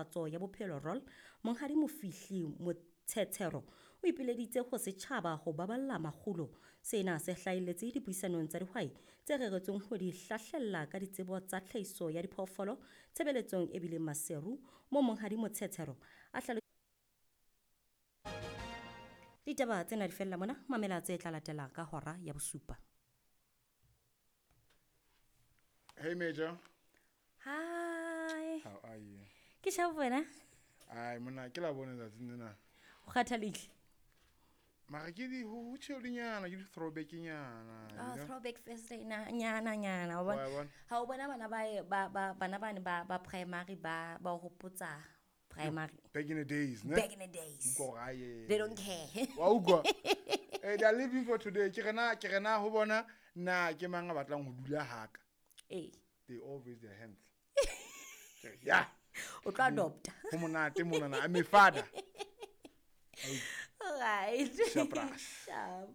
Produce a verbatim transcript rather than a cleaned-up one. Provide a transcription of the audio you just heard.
Ntlafatso ya Bophelo R O L, Monghadi Mofihli Motshetshero, o ipileditse ho setjhaba ho baballa makgulo. Sena se hlahelletse dipuisanong tsa dihwai tse reretsweng ho di hlahlella ka ditsebo tsa tlhahiso ya diphoofolo tshebeletsong e bileng Maseru, moo Monghadi Motshetshero a hlalo Ditaba tsena di fella mona, mamela tse tla latela ka hora ya bosupa. Hey Major. Hi. How are you? Ke sharp wena? Ai mona ke la bona tsatsing lena. O kgathalehile? Mara ke di ho chill-nyana, ke di throwback-nyana. Oh, throwback Thursday na nyana nyana. Wa Wa bona? Ha o bona bana ba ba ba bana bane ba ba primary ba ba hopotsa primary. Back in the days, ne? Back in the days. Utlwa hore, aye. They don't care. Wa utlwa? Eh, they are living for today. Ke rena, ke rena ho bona na ke mang a batlang ho dula haka. Eh. They all raise their hands. Yeah. O tlo adopta. Ho monate monana. I'm a father. All right. Sharp. Sharp.